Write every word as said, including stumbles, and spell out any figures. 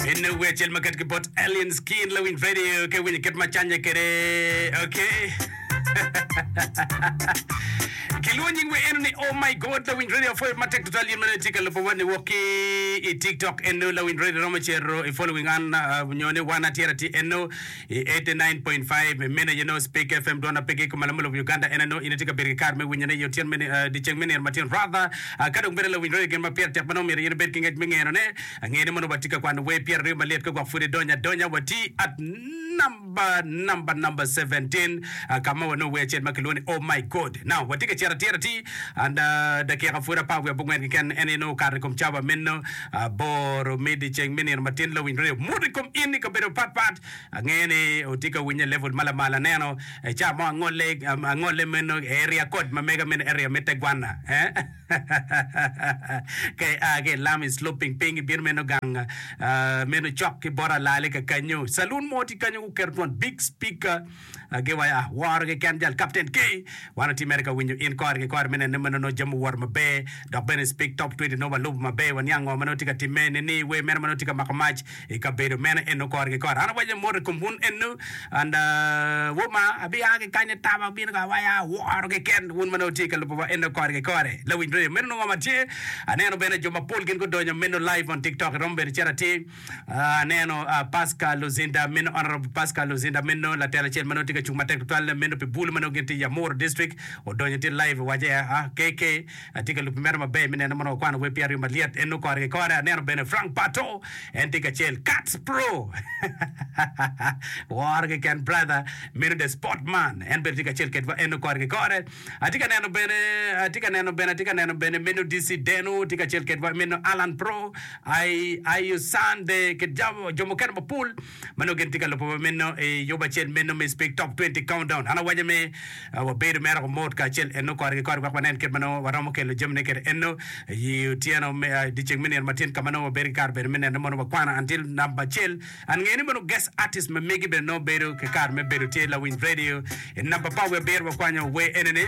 Eno wer acel ma ket ki bot Alien Skin Lawiny Radio ka iwinyo kit ma canye kwede. Okay. Kilwongo nying wer eno ni Oh My God Lawiny Radio apwoyo matek tutwal in ma nongo itye ka lubo wa niwok ki i TikTok eno Lawiny Radio romo cito i following an uh, nyo ni wan atyer atir eno i eighty nine point five meno aye nongo Speak F M dwon apigi i kom alamo lobo Uganda en aye nongo in itye ka bedo ki kare me winyone i otyeno me uh, dyeceng me nino matin rather uh, ka dong bene Lawiny Radio gin ma pire tek ma nongo myero in ibed ki ngec me ngenone Angeyo ni mono watye ka kwano wer pyeraryo malyet ka gwok pud idonyo adonya. Watye at namba namba namba seventeen ka ma wanongo wer acel ma kilwongo ni Oh My God. Now watye ka cito atir atir and dakika pud apar wiye abongwen keken en aye nongo okato i kom cawa meno aboro me dyeceng me nino matin lawiny radio muto i kom in i kabedo mapat pat. Angeyo ni wutye ka winyo i level ma lamal aneno i cawa mo angolle angolle meno area code ma mega meno area me te gwana eh. Ka ia ki i lam i sloping piny ibino meno gang meno cok ki bot alali ka kanyo. Saloon mo tye kanyo guketo twon big speaker giwaco ah woro keken jal Captain K. Wan watye mere ka winyo in kore ki kore me neno ni meno nongo jami owoto maber dok bene speak top twenty nongo walubo maber waniang ngo ma nongo tye ka timme ni wer meno ma nongo tye ka mako mac I kabedo meno eno kore ki kore. An awaco ni mot i kom wun eno, and wun ma abia ki kany ataba abino ka awaca aworo keken wun ma nongo wutye ka lubo wa eno kore ki kore. Lawiny radio meno nongo ma tye. Aneno bene jo mapol gin gudonyo meno live on tiktok iromo bene cito atir. Aneno Pascal Luzinda meno Honorable Pascal Luzinda meno latel acel ma nongo tye ka cung matek tutwal meno pi bulu ma nongo gin tye i Amuru district odonyo tye live owaco ah K K atye ka lubi mere maber me neno mono wakwano wer pyeraryo malyet eno kore ki kore. Aneno bene Frank Pato en tye kacel Cats Pro woro keken brother meno the sport man en bene tye kacel kedwa eno kore ki kore. Atye ka neno bene atye ka neno bene atye ka neno bene meno D C Deno tye kacel kedwa meno Alan Pro I I Sunday ki jo mukene mapol ma nongo gin tye ka lubo wa meno i yub acel meno me Speak Top twenty Countdown. An awaco ni wabedo mere ko mot kacel eno kore ki kore wek wanen kit ma nongo waromo kelo jamine kwede eno i otyeno me dyeceng me nino matin ka ma nongo wabedo ki kare bene me neno mono wakwano until namba acel. An ngeyo ni mono guest artist ma megi bene nongo bedo ki kare me bedo tye lawiny radio i namba apar wiye abiro wakwanyo wer enini.